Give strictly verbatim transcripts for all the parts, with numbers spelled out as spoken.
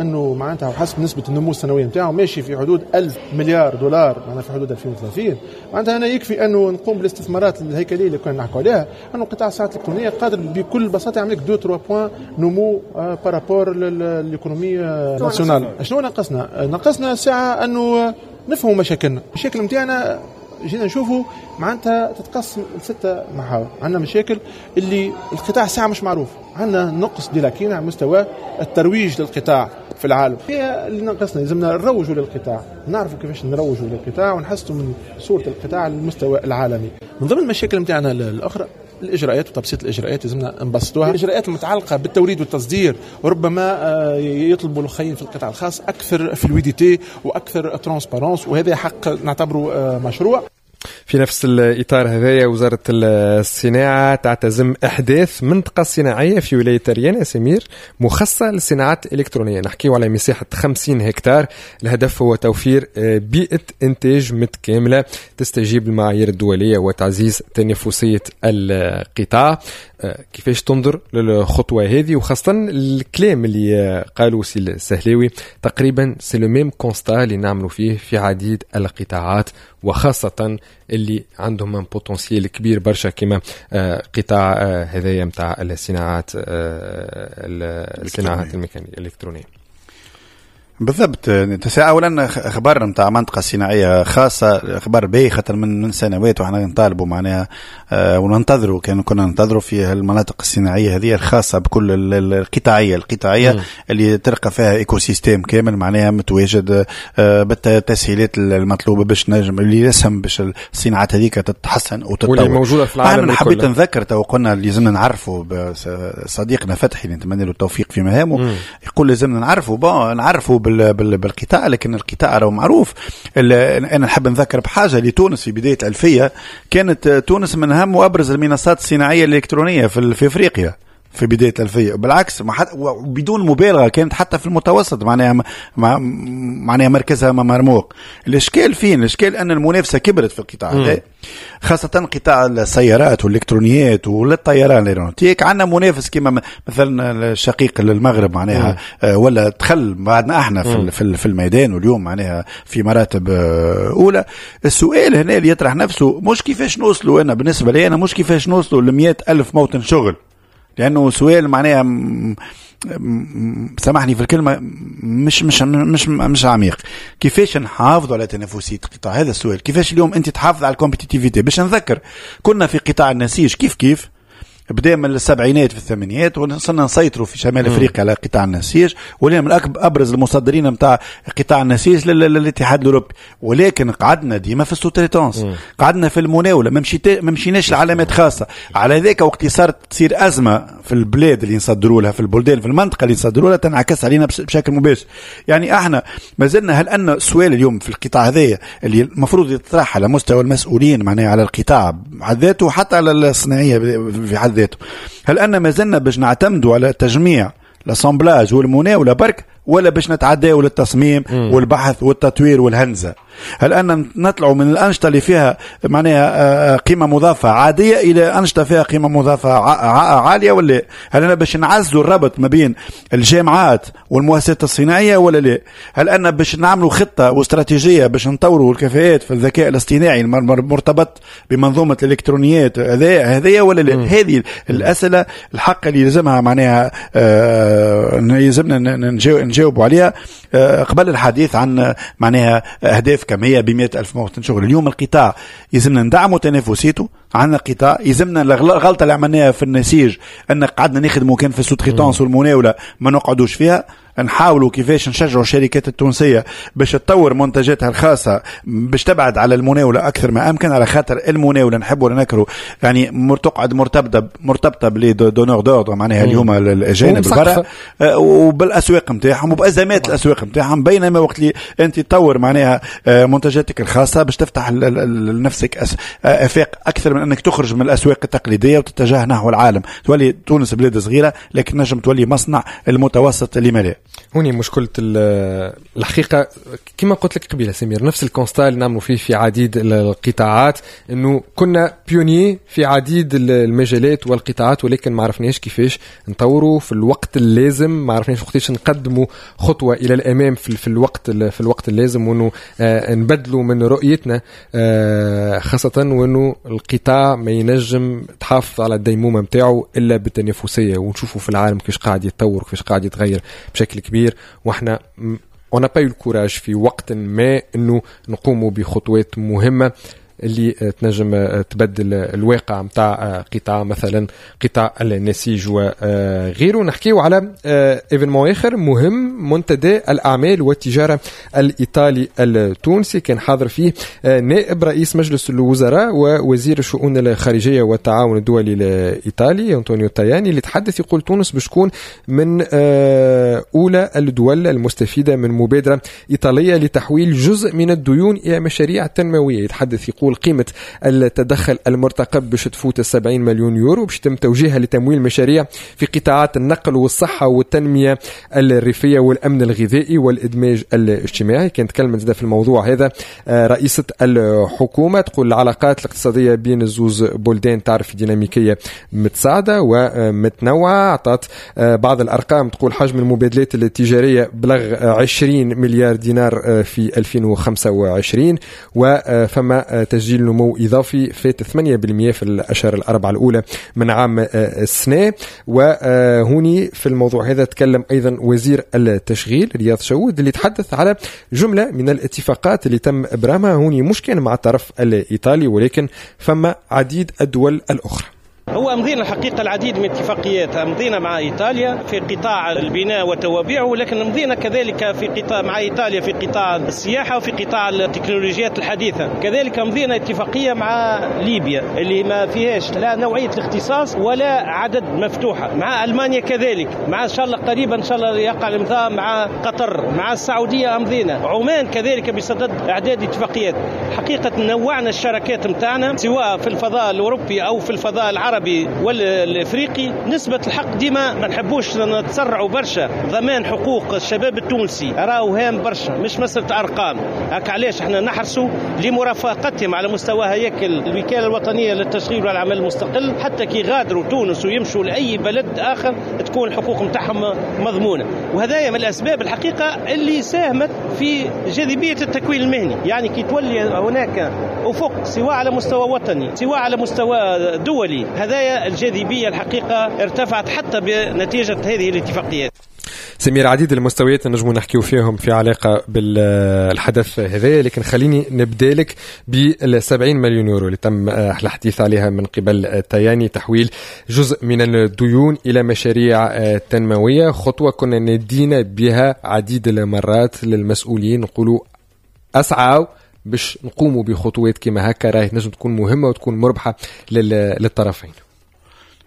انه معناتها وحسب نسبه النمو السنوية نتاعو ماشي في حدود ألف مليار دولار معناها في حدود ألفين وثلاثين. معناتها انا يكفي انه نقوم بالاستثمارات الهيكلية اللي كنا نحكوا عليها، انه قطاع الصناعات الالكترونية قادر بكل بساطة يعمل لك اثنين ثلاثة points نمو par rapport l'économie nationale. شنو نقصنا؟ نقصنا ساعة انه نفهموا مشاكلنا، المشاكل نتاعنا جينا نشوفوا معناتها تتقسم لستة محاور. عندنا مشاكل اللي القطاع ساعة مش معروف، عندنا نقص des lacunes على مستوى الترويج للقطاع في العالم، هي اللي نقصنا. لازمنا نروجوا للقطاع، نعرفوا كيفاش نروجوا للقطاع ونحسنوا من صورة القطاع على المستوى العالمي. من ضمن المشاكل نتاعنا الأخرى الإجراءات وتبسيط الإجراءات، لازمنا نبسطوها. الإجراءات المتعلقة بالتوريد والتصدير ربما يطلبوا الأخرين في القطاع الخاص أكثر fluidité وأكثر transparence، وهذا حق نعتبره مشروع. في نفس الإطار هذايا وزارة الصناعة تعتزم إحداث منطقة صناعية في ولاية أريانا سمير مخصصة للصناعات الإلكترونية. نحكيو على مساحة خمسين هكتار. الهدف هو توفير بيئة إنتاج متكاملة تستجيب للمعايير الدولية وتعزيز تنافسية القطاع. كيفاش تنظر للخطوة هذه، وخاصة الكلام اللي قالوا سي السهلاوي تقريبا c'est le même constat اللي نعملوا فيه في عديد القطاعات، وخاصة اللي عندهم potentiel كبير برشا كما قطاع هذايا نتاع الصناعات الصناعات الميكانيكية الإلكترونية. بالضبط. اولا خبر نتاع منطقة صناعية خاصة خبر باهي، خاطر من من سنوات وحنا نطالبوا معناها آه وننتظروا، كان كنا ننتظروا في المناطق الصناعية هذه الخاصة بكل القطاعيه القطاعيه م. اللي تلقى فيها écosystème كامل معناها متواجد آه بالتسهيلات المطلوبة باش نجم اللي يسهم باش الصناعات هذيك تتحسن وتتطور، واللي موجودة في العالم. انا حبيت نذكر تو قلنا اللي لازمنا نعرفوا صديقنا فتحي اللي نتمنى له التوفيق في مهامه، م. يقول لازمنا نعرفوا bon نعرفوا بالقطاع، لكن القطاع راهو معروف. انا نحب نذكر بحاجة لتونس في بداية الألفية كانت تونس من اهم وابرز المنصات الصناعية الالكترونية في في افريقيا في بداية الألفية، بالعكس بدون مبالغه كانت حتى في المتوسط معناها معناها مركزها مرموق. الاشكال فين؟ الاشكال ان المنافسة كبرت في القطاع هذا، خاصة قطاع السيارات والالكترونيات والطيران ال aéronautique. عندنا منافس كما مثلا الشقيق للمغرب معناها آه ولا دخل بعدنا احنا في في, في الميدان، واليوم معناها في مراتب آه اولى. السؤال هنا اللي يطرح نفسه مش كيفاش نوصلوا، انا بالنسبة لي انا مش كيفاش نوصلوا ل ألف موطن شغل، لانه سؤال معناها سامحني في الكلمة مش مش مش مش عميق. كيفاش نحافظوا على تنافسية القطاع؟ هذا السؤال. كيفاش اليوم انت تحافظ على ال compétitivité؟ باش نذكر كنا في قطاع النسيج كيف كيف بدا من السبعينات في الثمانينات وصلنا نسيطروا في شمال افريقيا على قطاع النسيج، ولينا من أكبر ابرز المصدرين نتاع قطاع النسيج للاتحاد الاوروبي، ولكن قعدنا ديما في ال sous-traitance، قعدنا في المناوله، ما مشيت ما مشيناش لعلامات خاصة. على ذاك وقت صارت تصير ازمة في البلاد اللي نصدروا لها، في البلدان في المنطقة اللي نصدروا لها، تنعكس علينا بشكل مباشر. يعني احنا ما زلنا، هل ان السؤال اليوم في القطاع هذايا اللي المفروض يطرح على مستوى المسؤولين معناها على القطاع بحد ذاته وحتى على الصناعية في حد ذاته، هل أن ما زلنا باش نعتمدوا على تجميع l'assemblage والمناولة برك، ولا باش نتعداو للتصميم مم. والبحث والتطوير والهندسة؟ هل أن نطلعوا من الأنشطة اللي فيها معناها قيمة مضافة عادية إلى أنشطة فيها قيمة مضافة عالية ولا؟ هل أنا باش نعززوا الربط ما بين الجامعات والمؤسسات الصناعية ولا لا؟ هل أن باش نعملوا خطة واستراتيجية باش نطوروا الكفاءات في الذكاء الاصطناعي المرتبط بمنظومة الإلكترونيات هذا هذايا ولا لا؟ هذه الأسئلة الحق اللي لازمها معناها آه يلزمنا نجاوبوا عليها قبل الحديث عن معناها أهداف كمية بمئة ألف موطن شغل. اليوم القطاع يلزمنا ندعموا تنافسيته. عندنا قطاع يلزمنا الغلطة اللي عملناها في النسيج أن قعدنا نخدموا كان في ال sous-traitance والمناولة ما نقعدوش فيها. نحاولوا كيفاش نشجعوا الشركات التونسية باش تطور منتجاتها الخاصة باش تبعد على المناولة أكثر ما أمكن، على خاطر المناولة نحب ولا نكره يعني تقعد مرتبطة مرتبطة ب les donneurs d'ordre معناها اليوم الأجانب برا وبالأسواق نتاعهم وبأزمات الأسواق نتاعهم، بينما وقت اللي أنت تطور معناها منتجاتك الخاصة باش تفتح لنفسك آفاق أكثر من أنك تخرج من الأسواق التقليدية وتتجه نحو العالم. تولي تونس بلاد صغيرة لكن نجم تولي مصنع المتوسط اللي مليء. هوني مشكلة الحقيقة كما قلت لك قبيلة سمير، نفس ال constat اللي نعملوا فيه في عديد القطاعات، انه كنا pionniers في عديد المجالات والقطاعات، ولكن ما عرفناش كيفاش نطوروا في الوقت اللازم، ما عرفناش وقتاش نقدموا خطوة الى الامام في, في الوقت في الوقت اللازم، وانه آه نبدلوا من رؤيتنا، آه خاصة وانه القطاع ما ينجم تحافظ على الديمومه نتاعو الا بالتنافسيه، ونشوفوا في العالم كيفاش قاعد يتطور وكيفاش قاعد يتغير بشكل كبير، واحنا on n'a pas eu le courage في وقت ما انه نقوموا بخطوات مهمة اللي تنجم تبدل الواقع نتاع قطاع مثلا قطاع النسيج وغيره. نحكيو على événement اخر مهم، منتدى الاعمال والتجارة الايطالي التونسي، كان حاضر فيه نائب رئيس مجلس الوزراء ووزير الشؤون الخارجية والتعاون الدولي الايطالي انطونيو تاياني، اللي تحدث يقول تونس باش تكون من اولى الدول المستفيده من مبادرة ايطالية لتحويل جزء من الديون الى مشاريع تنموية. يتحدث يقول قيمة التدخل المرتقب باش تفوت سبعين مليون يورو، باش يتم توجيهها لتمويل مشاريع في قطاعات النقل والصحة والتنمية الريفية والأمن الغذائي والإدماج الاجتماعي. كانت تكلمت في الموضوع هذا رئيسة الحكومة، تقول العلاقات الاقتصادية بين الزوز بلدان تعرف ديناميكية متساعدة ومتنوعة. أعطت بعض الأرقام، تقول حجم المبادلات التجارية بلغ عشرين مليار دينار في ألفين وخمسة وعشرين، وفما تسجيل نمو إضافي فات ثمانية بالمئة في الأشهر الأربعة الأولى من عام السنة. وهوني في الموضوع هذا تكلم أيضا وزير التشغيل رياض شهود، اللي تحدث على جملة من الاتفاقات اللي تم إبرامها هوني، مش كان مع الطرف الإيطالي ولكن فما عديد الدول الأخرى. هو أمضينا الحقيقة العديد من اتفاقيات، أمضينا مع إيطاليا في قطاع البناء وتوابعه، ولكن أمضينا كذلك في قطاع مع إيطاليا في قطاع السياحة وفي قطاع التكنولوجيات الحديثة. كذلك أمضينا اتفاقية مع ليبيا اللي ما فيهاش لا نوعية الاختصاص ولا عدد مفتوحة، مع ألمانيا كذلك، مع إن شاء الله قريبا إن شاء الله يقع الإمضاء مع قطر، مع السعودية أمضينا، عمان كذلك بصدد إعداد اتفاقيات. حقيقة نوعنا الشراكات متاعنا سواء في الفضاء الأوروبي أو في الفضاء العربي والافريقي. نسبة الحق ديما ما نحبوش نتسرعوا برشا، ضمان حقوق الشباب التونسي راهو هام برشا، مش مسألة ارقام. هكا علاش احنا نحرصوا لمرافقتهم على مستوى هياكل الوكالة الوطنية للتشغيل والعمل المستقل، حتى كي يغادروا تونس ويمشوا لاي بلد اخر تكون الحقوق نتاعهم مضمونة. وهذايا من الاسباب الحقيقة اللي ساهمت في جاذبية التكوين المهني، يعني كي تولي هناك افق سواء على مستوى وطني سواء على مستوى دولي، هذايا الجاذبية الحقيقة ارتفعت حتى بنتيجة هذه الاتفاقيات. سمير، عديد المستويات نجمو نحكيو فيهم في علاقة بالحدث هذا، لكن خليني نبدالك بالسبعين مليون يورو اللي تم الحديث عليها من قبل تاياني، تحويل جزء من الديون إلى مشاريع تنموية، خطوة كنا ندينا بها عديد المرات للمسؤولين، نقولوا أسعوا باش نقوموا بخطوات كما هكا، راهي تنجم تكون مهمة وتكون مربحة للطرفين.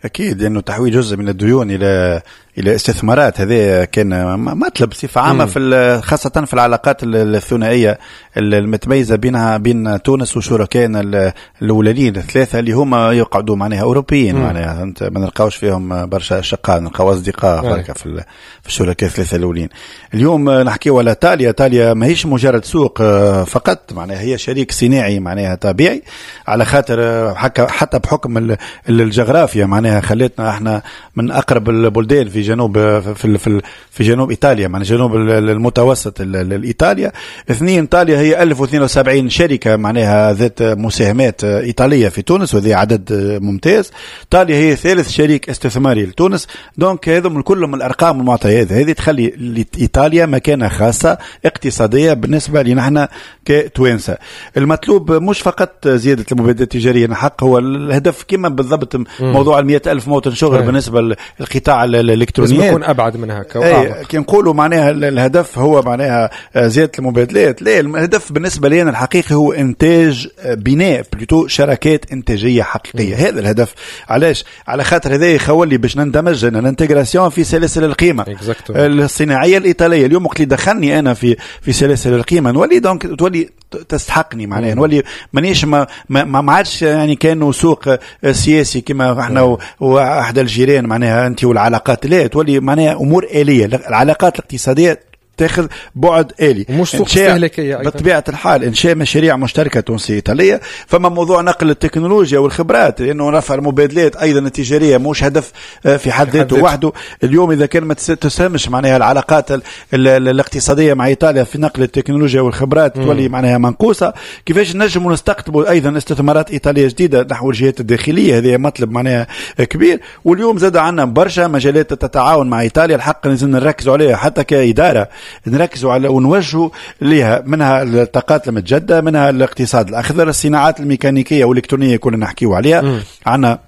أكيد، لأنه تحويل جزء من الديون إلى إلى استثمارات هذا كان مطلب بصفة عامة في خاصة في العلاقات الثنائية المتميزة بينها بين تونس وشركائنا الأولين الثلاثة اللي هما يقعدوا معناها أوروبيين، معناها أنت ما نلقاوش فيهم برشا أشقاء، نلقاو أصدقاء بركة في في الشركاء الثلاثة الأولين. اليوم نحكيو على إيطاليا، إيطاليا ماهيش مجرد سوق فقط، معناها هي شريك صناعي معناها طبيعي، على خاطر حتى بحكم الجغرافيا معناها خلتنا احنا من أقرب البلدان في جنوب في في في جنوب ايطاليا، معناها جنوب المتوسط الايطاليا. اثنين، ايطاليا هي ألف واثنين وسبعين شركة معناها ذات مساهمات ايطالية في تونس، وهذا عدد ممتاز. ايطاليا هي ثالث شريك استثماري لتونس، donc هذم كلهم الارقام والمعطيات هذه تخلي ايطاليا مكانه خاصة اقتصادية بالنسبة لنا احنا كتوانسه. المطلوب مش فقط زيادة المبادلات التجارية، الحق هو الهدف كما بالضبط موضوع المئة ألف موطن شغل بالنسبة للقطاع الالكتروني لازم يكون ابعد من هكا. كي نقولوا معناها الهدف هو معناها زيادة المبادلات، لا، الهدف بالنسبة لنا الحقيقي هو انتاج بناء plutôt شراكات انتاجية حقيقية. هذا الهدف. علاش؟ على خاطر هذا يخولي باش نندمج l'intégration في سلاسل القيمة الصناعية الايطالية. اليوم وقت اللي دخلني انا في في سلاسل القيمة نولي donc تولي تستحقني معناها، نولي مانيش ما ما عادش يعني كانوا سوق سياسي كما احنا واحد الجيران معناها انت والعلاقات، لا لا تولي معناها امور آلية. العلاقات الاقتصادية تاخذ بعد آلي، مش سوق استهلاكية. بطبيعة الحال إنشاء مشاريع مشتركة تونسية إيطالية. فما موضوع نقل التكنولوجيا والخبرات، لأنه رفع المبادلات أيضا التجارية مش هدف في حد ذاته وحده. اليوم إذا كان ما تساهمش معناها العلاقات ال ال الاقتصادية مع إيطاليا في نقل التكنولوجيا والخبرات تولي معناها منقوصة. كيفاش نجموا نستقطبوا أيضا استثمارات إيطالية جديدة نحو الجهات الداخلية؟ هذا مطلب معناها كبير. واليوم زاد عندنا برشا مجالات تتعاون مع إيطاليا، الحق لازم نركزوا عليها حتى كإدارة، نركزوا على ونوجهوا لها، منها الطاقات المتجددة، منها الاقتصاد الأخضر، الصناعات الميكانيكية والإلكترونية كلنا نحكيوا عليها. عندنا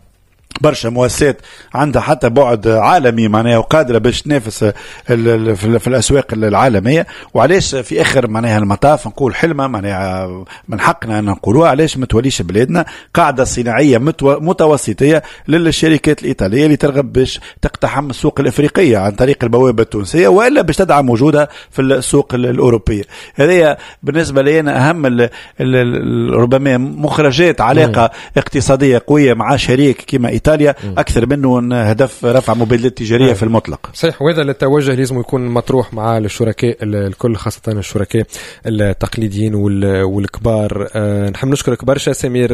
برشا مؤسسات عندها حتى بعد عالمي معناها وقادرة باش تنافس في الأسواق العالمية. وعلاش في آخر معناها المطاف نقول حلمة معناها من حقنا أن نقولوها، علاش ما توليش بلادنا قاعدة صناعية متوسطية للشركات الإيطالية اللي ترغب باش تقتحم السوق الإفريقية عن طريق البوابة التونسية، وإلا باش تدعم وجودها في السوق الأوروبية. هذه بالنسبة لي أنا أهم ال ال ربما مخرجات علاقة اقتصادية قوية مع شريك كما إيطاليا أكثر منه هدف رفع مبادلات تجارية في المطلق. صحيح، وهذا التوجه لازم يكون مطروح مع الشركاء الكل، خاصة الشركاء التقليديين والكبار. نحب نشكرك برشا سمير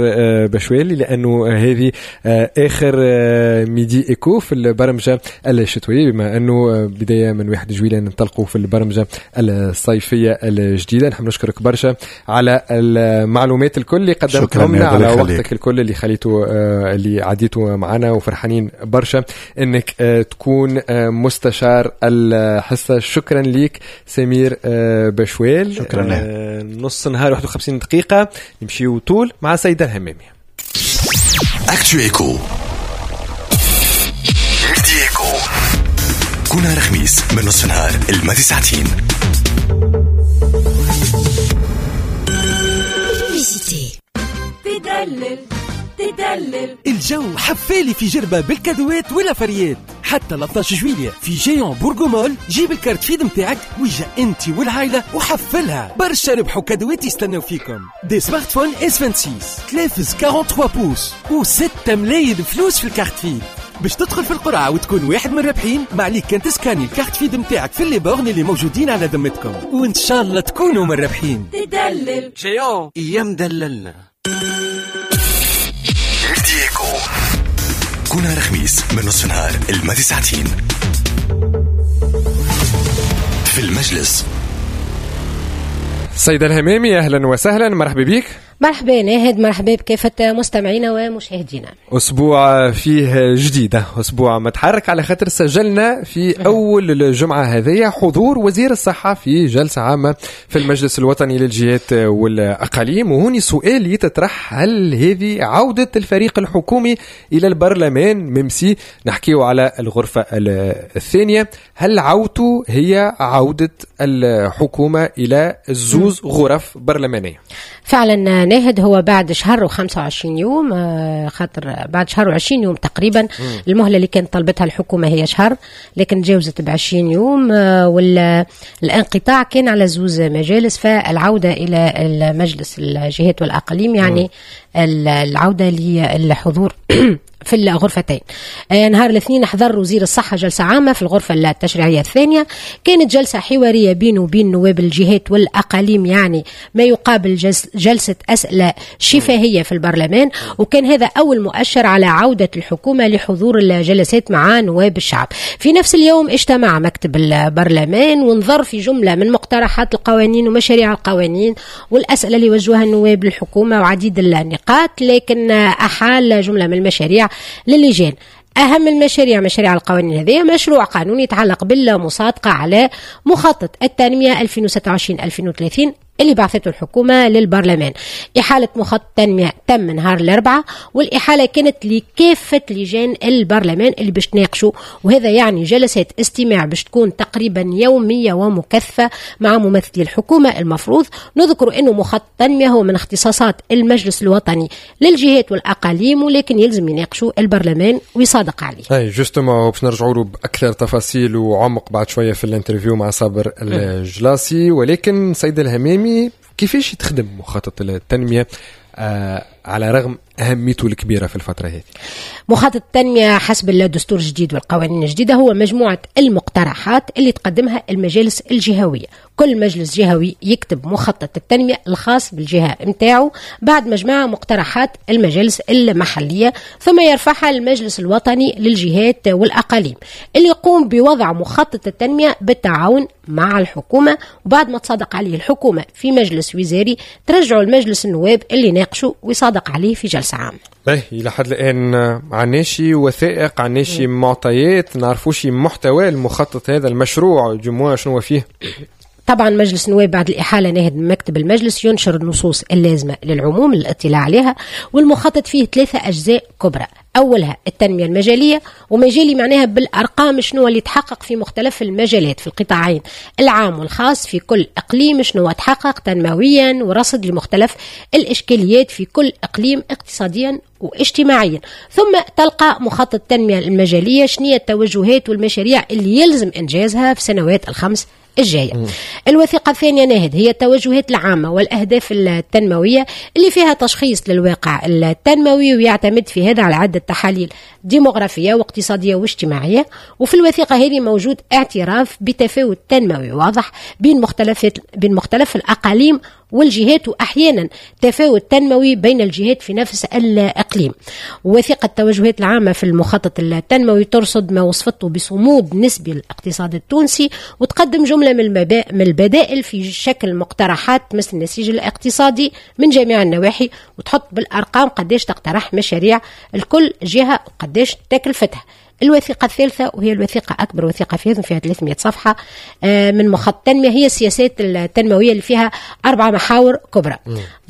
بشوالي، لأنه هذه آخر Midi Eco في البرمجة الشتوية، بما أنه بداية من واحد جويلية ننطلقوا في البرمجة الصيفية الجديدة. نحب نشكرك برشا على المعلومات الكل اللي قدمتهم لنا، على وقتك الكل اللي خليته اللي عديته معنا، وفرحانين برشا انك تكون مستشار الحصة. شكرا لك سمير بشويل. شكرا لك. نص نهار واحد وخمسين دقيقة نمشيو طول مع سيدة الهمامي. Actu Eco Midi Eco، كنا رخميس من نص نهار الماضي ساعتين. تدلل تدلل الجو حفالي في جربة بالكادوات والافريات حتى ثلاثة عشر جويلية في Géant Borgo Mall. جيب ال carte Feed متاعك ويجا انت والعائلة وحفلها برشا، ربحوا كادوات يستناو فيكم، des smartphones S ستة وعشرين ثلاثة وأربعين pouces وستة ملايين فلوس في ال carte Feed. باش تدخل في القرعة وتكون واحد من الرابحين ما عليك كان تسكاني ال carte Feed متاعك في les bornes اللي موجودين على ذمتكم، وان شاء الله تكونوا من الرابحين. تدلل Géant يا مدللنا. كنا رخميس من نصف نهار الماضي ساعتين في المجلس. سيدة الهمامي أهلا وسهلا، مرحبا بك. مرحبا ناهد، مرحبا بكافة مستمعينا ومشاهدينا. أسبوع فيه جديدة، أسبوع متحرك على خاطر سجلنا في أول الجمعة هذه حضور وزير الصحة في جلسة عامة في المجلس الوطني للجهات والأقاليم. وهوني سؤال يتطرح، هل هذه عودة الفريق الحكومي إلى البرلمان ممسي؟ نحكيه على الغرفة الثانية، هل عودته هي عودة الحكومة إلى زوز غرف برلمانية؟ فعلا ناهد، هو بعد شهر وخمسة وعشرين يوم، خاطر بعد شهر وعشرين يوم تقريبا. المهلة اللي كانت طلبتها الحكومة هي شهر، لكن تجاوزت بعشرين يوم، والانقطاع كان على زوز مجالس. فالعودة إلى المجلس الجهات والأقاليم يعني العودة للحضور في الغرفتين. نهار الاثنين حضر وزير الصحة جلسة عامة في الغرفة التشريعية الثانية، كانت جلسة حوارية بينه وبين نواب الجهات والأقاليم، يعني ما يقابل جلسة أسئلة شفاهية في البرلمان. وكان هذا أول مؤشر على عودة الحكومة لحضور الجلسات مع نواب الشعب. في نفس اليوم اجتمع مكتب البرلمان ونظر في جملة من مقترحات القوانين ومشاريع القوانين والأسئلة اللي وجهها النواب للحكومة وعديد النقاط، لكن أحال جملة من المشاريع للجان. أهم المشاريع مشاريع القوانين هذه مشروع قانون يتعلق بالمصادقة على مخطط التنمية ألفين وستة وعشرين ألفين وثلاثين اللي بعثته الحكومة للبرلمان. إحالة مخطط التنمية تم نهار الأربعاء، والإحالة كانت لكافة لجان البرلمان اللي باش تناقشوا، وهذا يعني جلسات استماع باش تكون تقريبا يومية ومكثفة مع ممثلي الحكومة. المفروض نذكر أنه مخطط التنمية هو من اختصاصات المجلس الوطني للجهات والأقاليم، ولكن يلزم يناقشوا البرلمان ويصادق عليه. أي justement باش نرجعوا له بأكثر تفاصيل وعمق بعد شوية في ال interview مع صابر الجلاسي. ولكن سيد الهمامي، كيفاش تخدم مخطط التنمية آه على رغم أهميته الكبيرة في الفترة هذه؟ مخطط التنمية حسب الدستور الجديد والقوانين الجديدة هو مجموعة المقترحات اللي تقدمها المجالس الجهوية. كل مجلس جهوي يكتب مخطط التنمية الخاص بالجهة متاعه بعد مجموعة مقترحات المجالس المحلية، ثم يرفعها المجلس الوطني للجهات والأقاليم اللي يقوم بوضع مخطط التنمية بالتعاون مع الحكومة، وبعد ما تصادق عليه الحكومة في مجلس وزاري ترجعوا المجلس النواب اللي ناقشوا ويصادق عليه في جلسة عامة. باهي، إلى حد الآن عناشي وثائق، عناشي معطيات، نعرفوش محتوى المخطط هذا المشروع جموع شنو فيه؟ طبعا مجلس النواب بعد الإحالة ناهد من مكتب المجلس ينشر النصوص اللازمة للعموم للاطلاع عليها، والمخطط فيه ثلاثة أجزاء كبرى. أولها التنمية المجالية، ومجالي معناها بالأرقام شنو اللي تحقق في مختلف المجالات في القطاعين العام والخاص في كل إقليم، شنو تحقق تنمويا، ورصد لمختلف الإشكاليات في كل إقليم اقتصاديا واجتماعيا. ثم تلقى مخطط التنمية المجالية شنو التوجهات والمشاريع اللي يلزم إنجازها في سنوات الخمس الجاية. مم. الوثيقة الثانية ناهد هي التوجهات العامة والأهداف التنموية اللي فيها تشخيص للواقع التنموي، ويعتمد في هذا على عدة تحاليل ديموغرافية واقتصادية واجتماعية. وفي الوثيقة هذه موجود اعتراف بتفاوت تنموي واضح بين مختلف بين مختلف الأقاليم والجهات، وأحيانا تفاوت تنموي بين الجهات في نفس الإقليم. وثيقة التوجهات العامة في المخطط التنموي ترصد ما وصفته بصمود نسبي للاقتصاد التونسي، وتقدم جملة من البدائل في شكل مقترحات مثل النسيج الاقتصادي من جميع النواحي، وتحط بالأرقام قديش تقترح مشاريع لكل جهة وقديش تكلفتها. الوثيقة الثالثة وهي الوثيقة أكبر وثيقة فيها، فيها ثلاثمائة صفحة من مخطط التنمية، هي السياسات التنموية اللي فيها أربع محاور كبرى: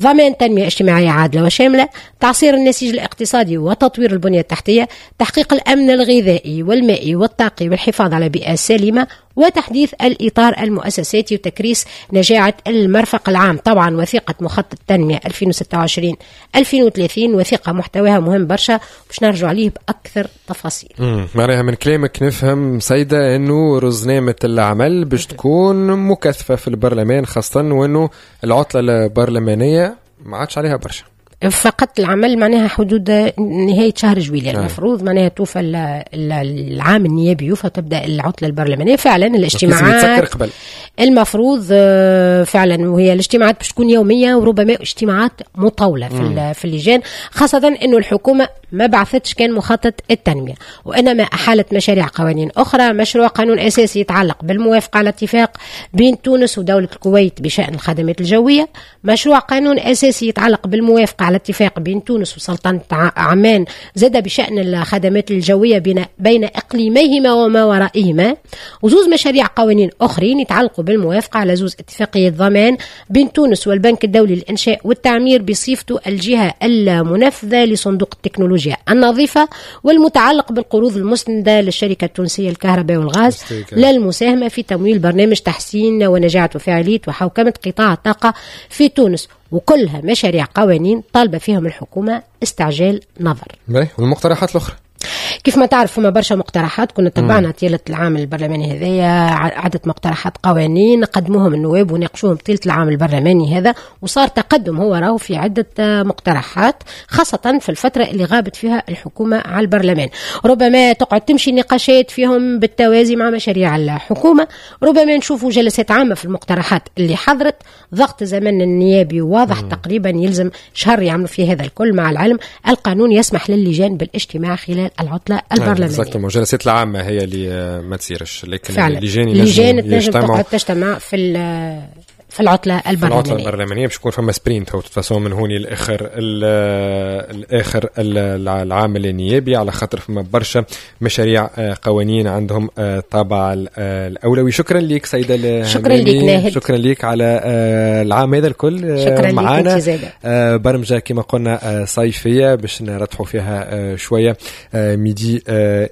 ضمان تنمية اجتماعية عادلة وشاملة، تعصير النسيج الاقتصادي وتطوير البنية التحتية، تحقيق الأمن الغذائي والمائي والطاقي والحفاظ على بيئة سليمة، وتحديث الإطار المؤسساتي وتكريس نجاعة المرفق العام. طبعا وثيقة مخطط التنمية ألفين وستة وعشرين ألفين وثلاثين وثيقة محتواها مهم برشا باش نرجع عليه بأكثر تفاصيل. معناها من كلامك نفهم سيدة أنه رزنامة العمل باش تكون مكثفة في البرلمان، خاصة وأنه العطلة البرلمانية ما عادش عليها برشا. فقط العمل معناها حدود نهاية شهر جويلية المفروض معناها توفى العام النيابي يوفى تبدأ العطلة البرلمانية. فعلا الاجتماعات قبل. المفروض فعلا، وهي الاجتماعات باش تكون يومية وربما اجتماعات مطولة في, في اللجان، خاصة أنه الحكومة ما بعثتش كان مخطط التنمية، وإنما أحالت مشاريع قوانين أخرى. مشروع قانون أساسي يتعلق بالموافقة على اتفاق بين تونس ودولة الكويت بشأن الخدمات الجوية، مشروع قانون أساسي يتعلق بالموافقة على اتفاق بين تونس وسلطنة عمان زاد بشأن الخدمات الجوية بين, بين إقليميهما وما ورائهما، وزوز مشاريع قوانين أخرين يتعلقوا بالموافقة على زوز اتفاقية ضمان بين تونس والبنك الدولي للإنشاء والتعمير بصفته الجهة المنفذة لصندوق التكنولوجيا النظيفة، والمتعلق بالقروض المسندة للشركة التونسية للكهرباء والغاز للمساهمة في تمويل برنامج تحسين ونجاعة وفاعلية وحوكمة قطاع الطاقة في تونس. وكلها مشاريع قوانين طالبة فيهم الحكومة استعجال نظر. والمقترحات الأخرى كيف ما تعرف فما برشا مقترحات كنا تبعنا طيلة العام البرلماني هذايا، عدة مقترحات قوانين قدموهم النواب وناقشوهم طيلة العام البرلماني هذا، وصار تقدم هو راهو في عدة مقترحات، خاصة في الفترة اللي غابت فيها الحكومة على البرلمان. ربما تقعد تمشي نقاشات فيهم بالتوازي مع مشاريع الحكومة، ربما نشوفوا جلسات عامة في المقترحات اللي حضرت. ضغط زمن النيابي واضح، مم. تقريبا يلزم شهر يعملوا فيه هذا الكل، مع العلم القانون يسمح للجان بالاجتماع خلال العطلة البرلمانية. exactement، الجلسات العامة هي اللي ما تصيرش، لكن اللجان ينجموا تجتمع في في العطلة البرلمانية. في العطلة البرلمانية باش يكون فما sprint هو تفاصيل من هوني لاخر الاخر العام النيابي، على خاطر فما برشا مشاريع قوانين عندهم طابع الاولوي. شكرا لك سيده، شكرا لك ناهد، شكرا لك على العام هذا الكل شكرا معنا. برمجة كما قلنا صيفية باش نرتحوا فيها شوية Midi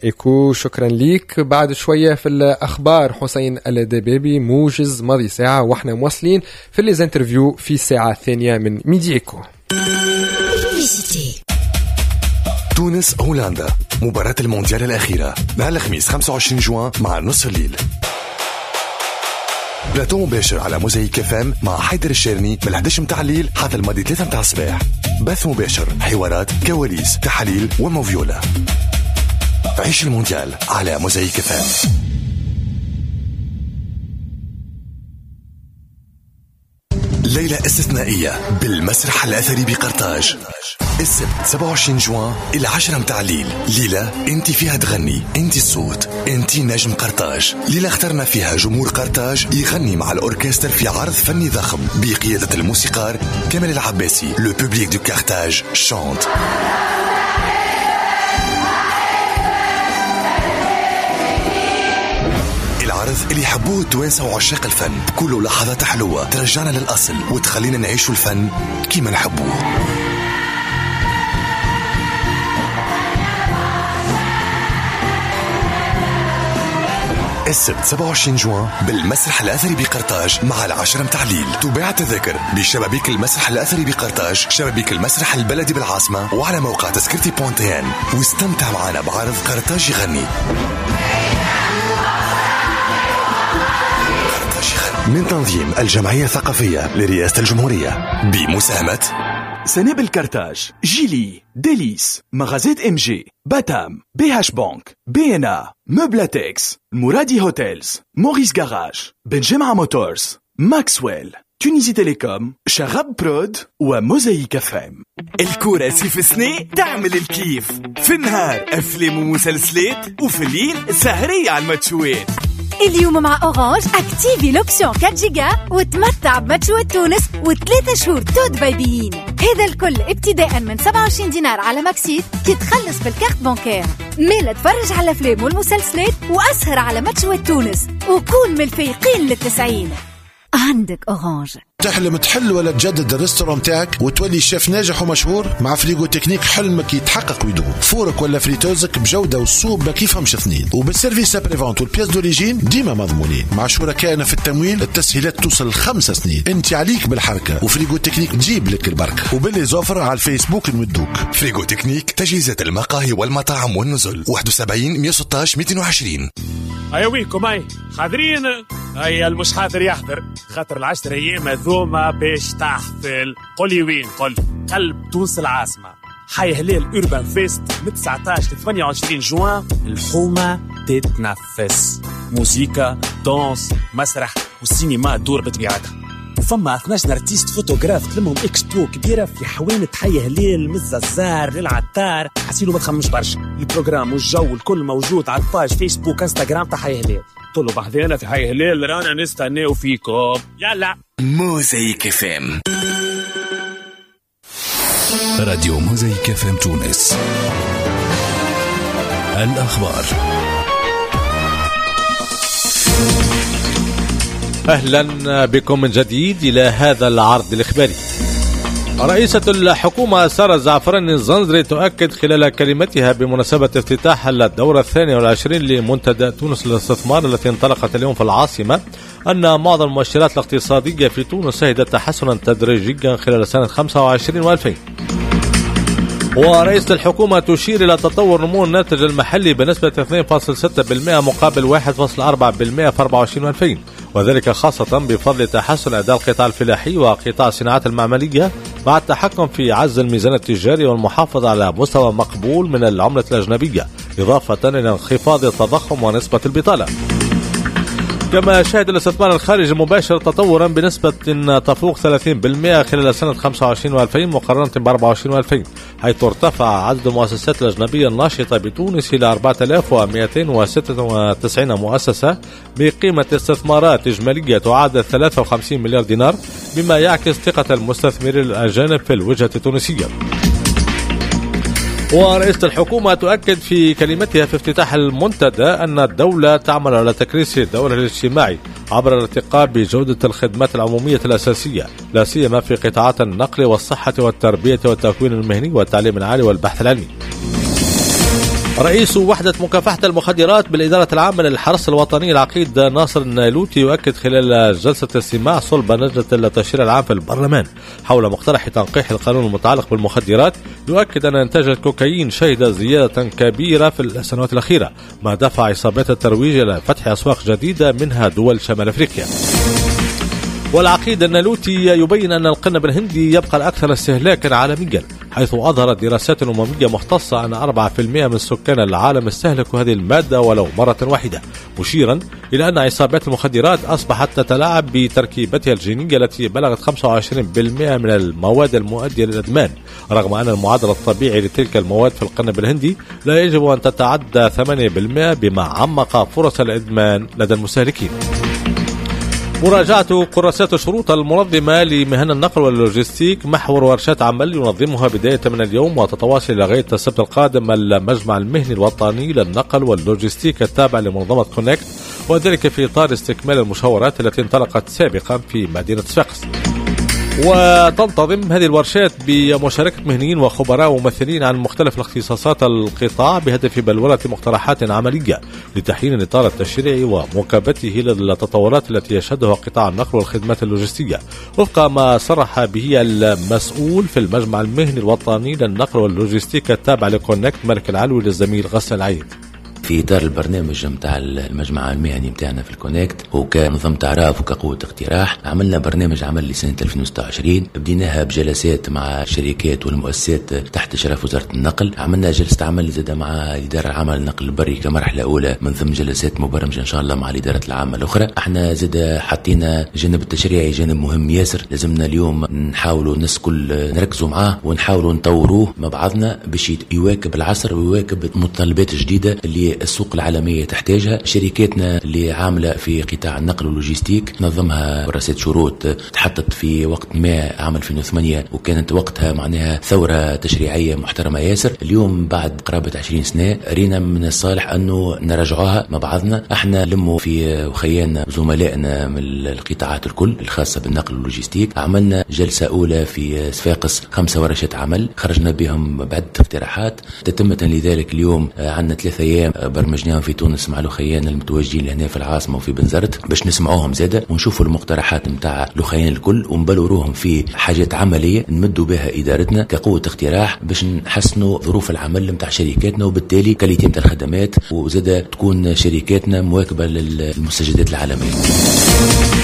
Eco. شكرا لك. بعد شوية في الاخبار حسين الدبابي موجز ماضي ساعة، واحنا مواصلين في les interviews في الساعة الثانية من Midi Eco. تونس هولندا، مباراة المونديال الأخيرة نهار الخميس خمسة وعشرين جوان مع نصف الليل. بلاتو مباشر على موزايك اف ام مع حيدر الشيرني من إحدى عشر متاع الليل حتى الماضي ثلاثة متاع الصباح. بث مباشر، حوارات، كواليس، تحاليل وموفيولا. عيش المونديال على موزايك اف ام. ليلة استثنائية بالمسرح الأثري بقرطاج، السبت سبعة وعشرين جوان إلى عشرة متاع الليل. ليلة انت فيها تغني، انت الصوت، انت نجم قرطاج. ليلة اخترنا فيها جمهور قرطاج يغني مع الأوركستر في عرض فني ضخم بقيادة الموسيقار كمال العباسي. Le public de Carthage chante. اللي يحبوه التوانسة وعشاق الفن، كل لحظات حلوة ترجعنا للأصل وتخلينا نعيش الفن كيما نحبوه. السبت سبعة وعشرين جوان بالمسرح الأثري بقرطاج مع العشرة متاع الليل. تباع التذاكر بشبابيك المسرح الأثري بقرطاج، شبابيك المسرح البلدي بالعاصمة، وعلى موقع تذكرتي بونتين. واستمتع معنا بعرض قرطاج يغني من تنظيم الجمعية الثقافية لرئاسة الجمهورية بمساهمة سنابل كارتاج، جيلي، ديليس، مغازات ام جي، باتام، بي هاش بانك، بي ان ا، موبلاتكس، مرادي هوتيلز، موريس جاراج، بن جمعة موتورز، ماكسويل، تونيزي تيليكوم، شغب برود، وموزايك اف ام. الكورة سيف سني تعمل الكيف، في النهار افلام ومسلسلات، وفي الليل سهرية على الماتشوات. اليوم مع اورانج activer l'option أربعة جيجا وتمتع بماتشوات تونس وثلاثة شهور tout by beIN. هذا الكل ابتداء من سبعة وعشرين دينار على ماكسيت كي تخلص بال carte bancaire. مالا تفرج على الافلام والمسلسلات واسهر على ماتشوات تونس وكون من الفايقين للتسعين. عندك اورانج. تحلم تحل ولا تجدد ال restaurant تاعك وتولي شيف ناجح ومشهور؟ مع فريغو تكنيك حلمك يتحقق ويدوم. four ك ولا friteuse ك بجوده والسوق ما كيفهمش اثنين، وبال service après-vente وال pièces d'origine ديما مضمونين. مع شركائنا في التمويل التسهيلات توصل لخمس سنين. انت عليك بالحركة وفريغو تكنيك تجيب لك البركة، وب les offres على الفيسبوك نودوك. فريغو تكنيك، تجهيزات المقاهي والمطاعم والنزل. واحد وسبعين مية وستاش مئتين وعشرين. هيا وينكم؟ هاي حاضرين؟ هيا المش حاضر يحضر، خاطر العشر ايام هذوما باش تحفل. قولي وين؟ قل قلب تونس العاصمة، حي هلال Urban Fest من تسعطاش ل ثمانية وعشرين جوان. الحومة تتنفس، موزيكا، danse، مسرح والسينما تدور بطبيعتها. وفما اثناش artiste photographe تلمهم اكسبو كبيرة في حوانت حي هلال، من الززار للعطار. حسيلو ما تخممش برشا، ال programme والجو الكل موجود على ال page فيسبوك انستغرام تاع حي هلال. طلوا بحذانا في حي هلال، رانا نستناو فيكم. يلا موزايك اف ام، راديو موزايك اف ام تونس. الأخبار. أهلا بكم من جديد إلى هذا العرض الإخباري. رئيسة الحكومة سارة الزعفراني الزنزري تؤكد خلال كلمتها بمناسبة افتتاح الدورة الثانية والعشرين لمنتدى تونس للاستثمار التي انطلقت اليوم في العاصمة أن معظم المؤشرات الاقتصادية في تونس شهدت تحسنا تدريجيا خلال سنة خمسة وعشرين وألفين. ورئيسة الحكومة تشير إلى تطور نمو الناتج المحلي بنسبة اثنين فاصلة ستة بالمئة مقابل واحد فاصلة أربعة بالمئة في أربعة وعشرين وألفين، وذلك خاصة بفضل تحسن أداء القطاع الفلاحي وقطاع الصناعات المعملية مع التحكم في عجز الميزان التجاري والمحافظة على مستوى مقبول من العملة الأجنبية، إضافة إلى انخفاض التضخم ونسبة البطالة. كما شهد الاستثمار الخارجي المباشر تطورا بنسبة تفوق ثلاثين بالمئة خلال سنة خمسة وعشرين وألفين مقارنة ب أربعة وعشرين وألفين، حيث ارتفع عدد المؤسسات الأجنبية الناشطة بتونس إلى أربعة آلاف ومئتين وستة وتسعين مؤسسة بقيمة استثمارات إجمالية تعادل ثلاثة وخمسين مليار دينار، بما يعكس ثقة المستثمرين الأجانب في الوجهة التونسية. ورئيسة الحكومة تؤكد في كلمتها في افتتاح المنتدى أن الدولة تعمل على تكريس دورها الاجتماعي عبر الارتقاء بجودة الخدمات العمومية الأساسية، لا سيما في قطاعات النقل والصحة والتربية والتكوين المهني والتعليم العالي والبحث العلمي. رئيس وحدة مكافحة المخدرات بالإدارة العامة للحرس الوطني العقيد ناصر النايلوتي يؤكد خلال جلسة استماع صلب لجنة التشريع العام في البرلمان حول مقترح تنقيح القانون المتعلق بالمخدرات، يؤكد أن إنتاج الكوكايين شهد زيادة كبيرة في السنوات الأخيرة، ما دفع عصابات الترويج إلى فتح أسواق جديدة منها دول شمال أفريقيا. والعقيد النالوتي يبين أن القنب الهندي يبقى الأكثر استهلاكا عالميا، حيث أظهرت دراسات أممية مختصة أن أربعة بالمئة من سكان العالم استهلكوا هذه المادة ولو مرة واحدة، مشيرا إلى أن عصابات المخدرات أصبحت تتلاعب بتركيبتها الجينية التي بلغت خمسة وعشرين بالمئة من المواد المؤدية للإدمان، رغم أن المعدل الطبيعي لتلك المواد في القنب الهندي لا يجب أن تتعدى ثمانية بالمئة، بما عمق فرص الإدمان لدى المستهلكين. مراجعة كراسات الشروط المنظمة لمهن النقل واللوجستيك محور ورشات عمل ينظمها بداية من اليوم وتتواصل إلى غاية السبت القادم المجمع المهني الوطني للنقل واللوجستيك التابع لمنظمة كونكت، وذلك في إطار استكمال المشاورات التي انطلقت سابقا في مدينة صفاقس. وتنتظم هذه الورشات بمشاركة مهنيين وخبراء وممثلين عن مختلف الاختصاصات القطاع بهدف بلورة مقترحات عملية لتحيين الإطار التشريعي ومواكبته للتطورات التي يشهدها قطاع النقل والخدمات اللوجستية، وفق ما صرح به المسؤول في المجمع المهني الوطني للنقل واللوجستيك التابع لكونكت مالك العلوي للزميل غسان العيد. في إطار البرنامج متاع المجمع المهني متاعنا في الكونكت وكنظام تعراف وكقوة اقتراح، عملنا برنامج عمل لسنة ألفين وستة وعشرين، بديناها بجلسات مع الشركات والمؤسسات تحت إشراف وزارة النقل، عملنا جلسة عمل زادة مع الإدارة العامة للنقل البري كمرحلة أولى من ضمن جلسات مبرمجة إن شاء الله مع الإدارة العامة الأخرى. احنا زادة حطينا جانب التشريعي جانب مهم ياسر، لازمنا اليوم نحاولوا الناس كل نركزوا معاه ونحاولوا نطوروه مع بعضنا باش يواكب العصر ويواكب المتطلبات الجديدة اللي السوق العالمية تحتاجها. شركاتنا اللي عاملة في قطاع النقل واللوجستيك نظمها كراسات شروط تحطت في وقت ما عام ألفين وثمانية، وكانت وقتها معناها ثورة تشريعية محترمة ياسر. اليوم بعد قرابة عشرين سنة رينا من الصالح أنه نراجعوها مع بعضنا. احنا لموا في وخيانا زملائنا من القطاعات الكل الخاصة بالنقل واللوجستيك، عملنا جلسة أولى في صفاقس خمسة ورشات عمل خرجنا بهم بعدة اقتراحات تتمة لذلك. اليوم عندنا ثلاثة أيام برمجناهم في تونس مع لخيان المتواجدين لهنا في العاصمة وفي بنزرت باش نسمعوهم زاده ونشوفوا المقترحات نتاع لخيان الكل ونبلوروهم في حاجات عملية نمدوا بها ادارتنا كقوة اقتراح باش نحسنوا ظروف العمل نتاع شركاتنا وبالتالي qualité نتاع الخدمات، وزاده تكون شركاتنا مواكبة للمستجدات العالمية.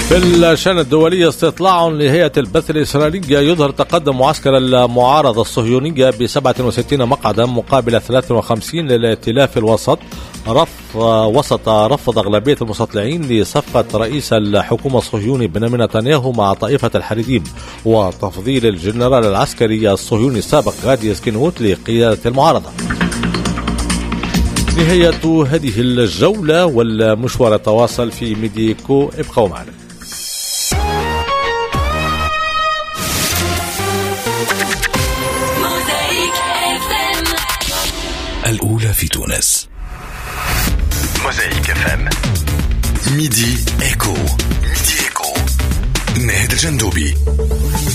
في الشأن الدولي، استطلاع لهيئة البث الإسرائيلية يظهر تقدم معسكر المعارضة الصهيونية ب سبعة وستين مقعدا مقابل ثلاثة وخمسين للائتلاف الوسط، رف وسط رفض أغلبية المستطلعين لصفقة رئيس الحكومة الصهيوني بنيامين نتنياهو مع طائفة الحريديم وتفضيل الجنرال العسكري الصهيوني السابق غادي سكينوت لقيادة المعارضة. نهاية هذه الجولة والمشوار يتواصل في ميديكو، ابقوا معنا. الأولى في تونس، موزايك اف ام، ميدي ايكو، ميدي ايكو، ناهد الجندوبي.